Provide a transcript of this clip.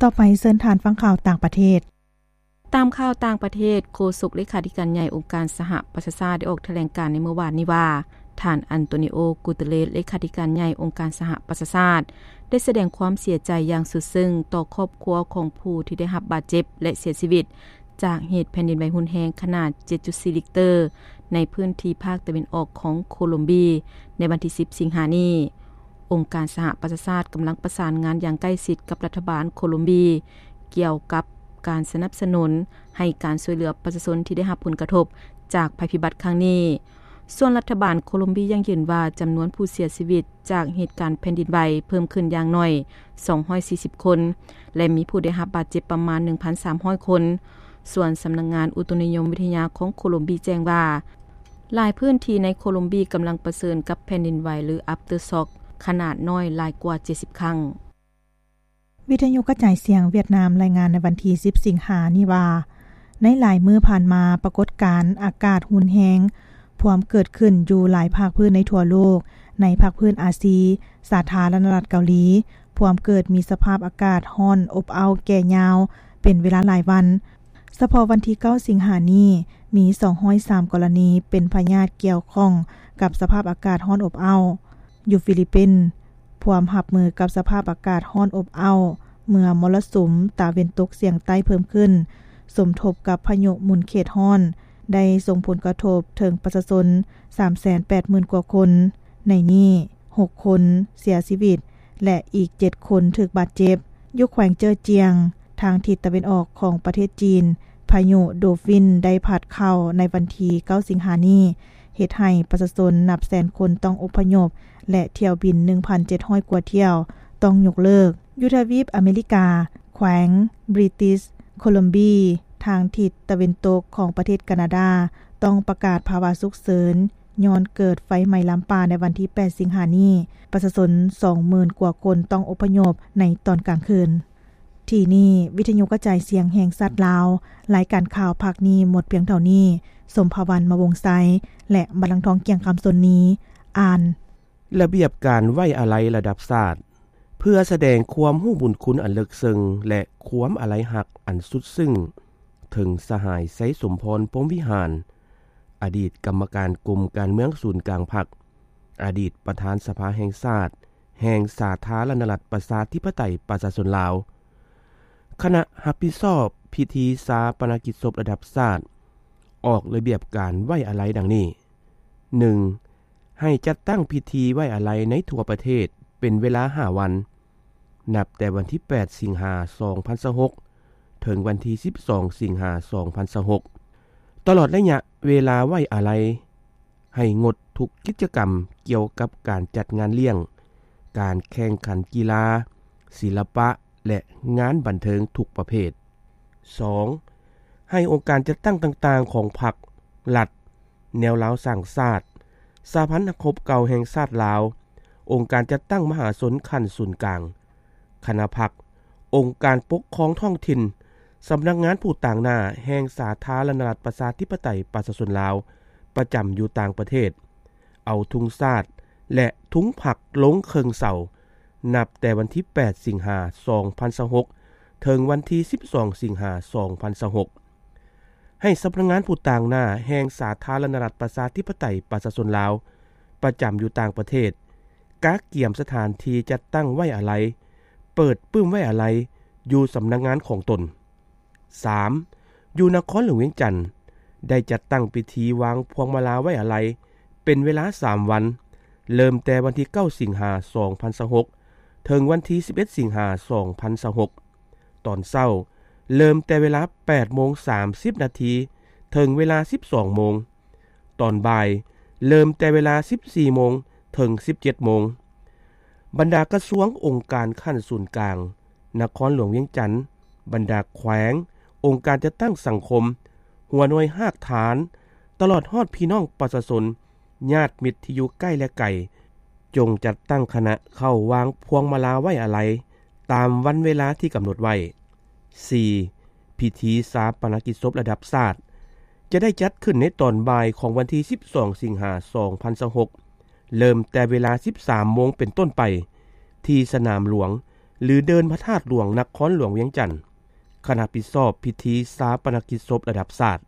ຕໍ່ໄປເຊີນທ່ານຟັງຂ່າວຕ່າງປະເທດ. ຕາມຂ່າວຕ່າງປະເທດ, ໂຄສົກເລຂາທິການໃຫຍ່ອົງການສະຫະປະຊາຊາດໄດ້ອອກຖະແຫຼງການໃນມື້ວານນີ້ວ່າ ທ່ານ ອັນໂຕນີໂອ ກູເຕເລສ ເລຂາທິການໃຫຍ່ອົງການສະຫະປະຊາຊາດ ໄດ້ສະແດງຄວາມເສຍໃຈຢ່າງສຸດເຊິ່ງຕໍ່ຄອບຄົວຂອງຜູ້ທີ່ໄດ້ຮັບບາດເຈັບ ແລະ ເສຍຊີວິດ ຈາກເຫດແຜ່ນດິນໄຫວຮຸນແຮງຂະໜາດ ເຈັດຈຸດສີ່ ລິກເຕີ ໃນພື້ນທີ່ພາກຕາເວັນອອກຂອງໂຄລົມເບຍ ໃນວັນທີ ສິບ ສິງຫານີ້. ອົງການສະຫະປະຊາຊາດກຳລັງປະສານງານຢ່າງໃກ້ຊິດກັບລັດຖະບານໂຄລົມເບຍ ກ່ຽວກັບການສະໜັບສະໜູນໃຫ້ການຊ່ວຍເຫຼືອປະຊາຊົນທີ່ໄດ້ຮັບຜົນກະທົບຈາກໄພພິບັດຄັ້ງນີ້. ສ່ວນລັດຖະບານໂຄລົມເບຍຢັ້ງຢືນວ່າ ຈຳນວນຜູ້ເສຍຊີວິດຈາກເຫດການແຜ່ນດິນໄຫວເພີ່ມຂຶ້ນຢ່າງໜ້ອຍ ສອງຮ້ອຍສີ່ສິບ ຄົນ ແລະ ມີຜູ້ໄດ້ຮັບບາດເຈັບປະມານ ໜຶ່ງພັນສາມຮ້ອຍ ຄົນ. ສ່ວນສຳນັກງານອຸຕຸນິຍົມວິທະຍາຂອງໂຄລົມເບຍແຈ້ງວ່າ ຫຼາຍພື້ນທີ່ໃນໂຄລົມເບຍກຳລັງປະເຊີນກັບແຜ່ນດິນໄຫວ ຫຼື aftershock ຂະໜາດນ້ອຍຫຼາຍກວ່າ ເຈັດສິບ ຄັ້ງ. ວິທະຍຸກະຈາຍສຽງຫວຽດນາມລາຍງານໃນວັນທີ ສິບ ສິງຫານີ້ວ່າ ໃນຫຼາຍມື້ຜ່ານມາ ປາກົດການອາກາດຮຸນແຮງພວມເກີດຂຶ້ນຢູ່ຫຼາຍພາກພື້ນໃນທົ່ວໂລກ. ໃນພາກພື້ນອາຊີ, ສາທາລະນະລັດເກົາຫຼີ ພວມເກີດມີສະພາບອາກາດຮ້ອນອົບເອົ້າແກ່ຍາວເປັນເວລາຫຼາຍວັນ. ສະເພາະວັນທີ ເກົ້າ ສິງຫານີ້ ມີ ສອງຮ້ອຍສາມ ກໍລະນີເປັນພະຍາດກ່ຽວຂ້ອງກັບສະພາບອາກາດຮ້ອນອົບເອົ້າ. ຢູ່ຟີລິບປິນ ພວມຮັບມືກັບສະພາບອາກາດຮ້ອນອົບເອົ້າ ເມື່ອມໍລະສຸມຕາເວັນຕົກສຽງໃຕ້ເພີ່ມຂຶ້ນ ສົມທົບກັບພາຍຸໝູນເຂດຮ້ອນ ໄດ້ສົ່ງຜົນກະທົບເຖິງປະຊາຊົນ ສາມແສນແປດໝື່ນ ກວ່າຄົນ, ໃນນີ້ ຫົກ ຄົນເສຍຊີວິດ ແລະ ອີກ ເຈັດ ຄົນຖືກບາດເຈັບ. ຢູ່ແຂວງເຈີຈຽງ ທາງທິດຕາເວັນອອກຂອງປະເທດຈີນ, ພາຍຸໂດຟິນໄດ້ພັດເຂົ້າໃນວັນທີ ເກົ້າ ສິງຫານີ້ ເຮັດໃຫ້ປະຊາຊົນນັບແສນຄົນຕ້ອງອົບພະຍົບ ແລະ ຖ້ຽວບິນ ໜຶ່ງພັນເຈັດຮ້ອຍ ກວ່າຖ້ຽວຕ້ອງຍົກເລີກ. ຢູ່ທະວີບອາເມລິກາ, ແຂວງບຣິຕິສໂຄລັມເບຍ ທາງທິດຕາເວັນຕົກຂອງປະເທດການາດາ ຕ້ອງປະກາດພາວະສຸກເສີນ ຍ້ອນເກີດໄຟໄໝ້ລາມປ່າໃນວັນທີ ແປດ ສິງຫານີ້, ປະຊາຊົນ ສອງໝື່ນ ກວ່າຄົນຕ້ອງອົບພະຍົບໃນຕອນກາງຄືນ. ທີ່ນີ້ ວິທະຍຸກະຈາຍສຽງແຫ່ງຊາດລາວ, ລາຍການຂ່າວພາກນີ້ໝົດພຽງເທົ່ານີ້. ສົມພາວັນ ມະວົງໄຊ ແລະ ບັນລັງທອງ ກ່ຽງຄຳສົນນີ ອ່ານ. ລະບຽບການໄວ້ອາໄລລະດັບຊາດ ເພື່ອສະແດງຄວາມຮູ້ບຸນຄຸນອັນເລິກເຊິ່ງ ແລະ ຄວາມອາໄລຮັກອັນສຸດຊຶ້ງເຖິງສະຫາຍ ໄຊສົມພອນ ພົມວິຫານ ອະດີດກຳມະການກົມການເມືອງສູນກາງພັກ, ອະດີດປະທານສະພາແຫ່ງຊາດ ແຫ່ງສາທາລະນະລັດ ປະຊາທິປະໄຕ ປະຊາຊົນລາວ, ຄະນະຮັບຜິດຊອບພິທີຊາປະນະກິດສົບລະດັບຊາດ ອອກລະບຽບການໄວ້ອາໄລດັ່ງນີ້: ໜຶ່ງ ໃຫ້ຈັດຕັ້ງພິທີໄວ້ອາໄລໃນທົ່ວປະເທດເປັນເວລາຫ້າວັນ, ນັບແຕ່ວັນທີ ແປດ ສິງຫາ ສອງພັນຊາວຫົກ ເຖິງວັນທີ ສິບສອງ ສິງຫາ ສອງພັນຊາວຫົກ. ຕະຫຼອດໄລຍະເວລາໄວ້ອາໄລ ໃຫ້ງົດທຸກກິດຈະກຳກ່ຽວກັບການຈັດງານລ້ຽງ, ການແຂ່ງຂັນກິລາ, ສິລະປະ ແລະ ງານບັນເທີງທຸກປະເພດ. ສອງ ໃຫ້ອົງການຈັດຕັ້ງຕ່າງໆຂອງພັກ, ລັດ, ແນວລາວສ້າງຊາດ, ສະຫະພັນນັກຮົບເກົ່າແຫ່ງຊາດລາວ, ອົງການຈັດຕັ້ງມະຫາຊົນຂັ້ນສູນກາງ, ຄະນະພັກ, ອົງການປົກຄອງທ້ອງຖິ່ນ, ສຳນັກງານຜູ້ຕາງໜ້າແຫ່ງສາທາລະນະລັດ ປະຊາທິປະໄຕ ປະຊາຊົນລາວ ປະຈຳຢູ່ຕ່າງປະເທດ ເອົາທຸງຊາດ ແລະ ທຸງພັກລົງເຄິ່ງເສົາ ນັບແຕ່ວັນທີ ແປດ ສິງຫາ ສອງພັນຊາວຫົກ ເຖິງວັນທີ ສິບສອງ ສິງຫາ ສອງພັນຊາວຫົກ. ໃຫ້ສຳນັກງານຜູ້ຕາງໜ້າແຫ່ງສາທາລະນະລັດ ປະຊາທິປະໄຕ ປະຊາຊົນລາວ ປະຈຳຢູ່ຕ່າງປະເທດ ກະກຽມສະຖານທີ່ຈັດຕັ້ງໄວ້ອາໄລ, ເປີດປຶ້ມໄວ້ອາໄລຢູ່ສຳນັກງານຂອງຕົນ. ສາມ ຢູ່ນະຄອນຫຼວງວຽງຈັນ ໄດ້ຈັດຕັ້ງພິທີວາງພວງມາລາໄວ້ອາໄລເປັນເວລາສາມວັນ, ເລີ່ມແຕ່ວັນທີ ເກົ້າ ສິງຫາ ສອງພັນຊາວຫົກ ເຖິງວັນທີ ສິບເອັດ ສິງຫາ ສອງພັນຊາວຫົກ. ຕອນເຊົ້າ ເລີ່ມແຕ່ເວລາ ແປດໂມງ ສາມສິບນາທີ ເຖິງເວລາ ສິບສອງໂມງ. ຕອນບ່າຍ ເລີ່ມແຕ່ເວລາ ສິບສີ່ໂມງ ເຖິງ ສິບເຈັດໂມງ. ບັນດາກະຊວງ, ອົງການຂັ້ນສູນກາງ, ນະຄອນຫຼວງວຽງຈັນ, ບັນດາແຂວງ, ອົງການຈັດຕັ້ງສັງຄົມ, ຫົວໜ່ວຍຮາກຖານ, ຕະຫຼອດຮອດພີ່ນ້ອງປະຊາຊົນ, ຍາດມິດທີ່ຢູ່ໃກ້ ແລະ ໄກ, ຈົ່ງຈັດຕັ້ງຄະນະເຂົ້າວາງພວງມາລາໄວ້ອາໄລ ຕາມວັນເວລາທີ່ກຳນົດໄວ້. ສີ່ ພິທີຊາປະນະກິດສົບລະດັບຊາດ ຈະໄດ້ຈັດຂຶ້ນໃນຕອນບ່າຍຂອງວັນທີ ສິບສອງ ສິງຫາ ສອງພັນຊາວຫົກ ເລີ່ມແຕ່ເວລາ ສິບສາມໂມງເປັນຕົ້ນໄປ ທີ່ສະໜາມຫຼວງ ຫຼື ເດີ່ນພະທາດຫຼວງ ນະຄອນຫຼວງວຽງຈັນ, ຄະນະຮັບຜິດຊອບພິທີຊາປະນະກິດສົບລະດັບຊາດ